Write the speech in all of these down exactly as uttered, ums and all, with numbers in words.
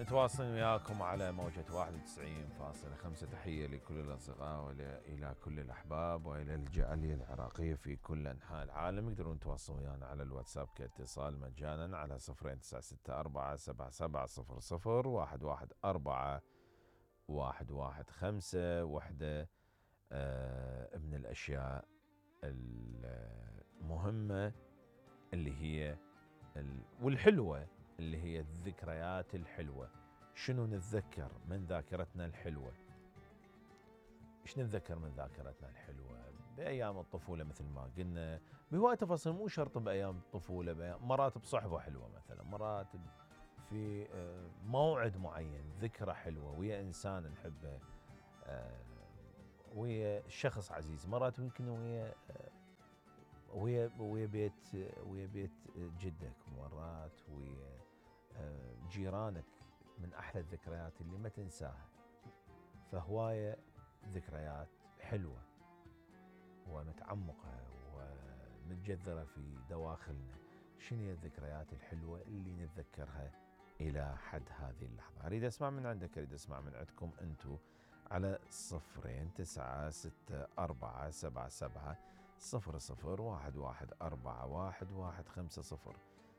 متواصلين وياكم على موجة واحد وتسعين فاصلة خمسة. تحية لكل الأصدقاء وإلى كل الأحباب وإلى الجالية العراقية في كل أنحاء العالم. يقدرون يتواصلون ويانا على الواتساب كاتصال مجانا على صفرين تسعة ستة أربعة سبعة سبعة صفر صفر واحد واحد أربعة واحد واحد خمسة. وحدة آه من الأشياء المهمة اللي هي والحلوة اللي هي الذكريات الحلوة. شنو نتذكر من ذاكرتنا الحلوة؟ ايش نتذكر من ذاكرتنا الحلوة بأيام الطفولة؟ مثل ما قلنا بهواية تفاصيل، مو شرط بأيام الطفولة، بأيام مرات بصحبة حلوة مثلا، مرات في موعد معين، ذكرى حلوة ويا إنسان نحبه، ويا شخص عزيز، مرات يمكن ويا ويا ويا بيت ويا بيت جدك، مرات ويا جيرانك. من أحلى الذكريات اللي ما تنساها. فهواية ذكريات حلوة ومتعمقة ومتجذرة في دواخلنا. شنو هي الذكريات الحلوة اللي نتذكرها إلى حد هذه اللحظة؟ أريد أسمع من عندك، أريد أسمع من عندكم أنتو على صفرين تسعة ستة أربعة سبعة سبعة صفر صفر واحد واحد أربعة واحد واحد خمسة صفر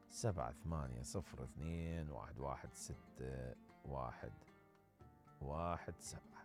سبعة ثمانية صفر اثنين واحد واحد ستة واحد واحد سبعة.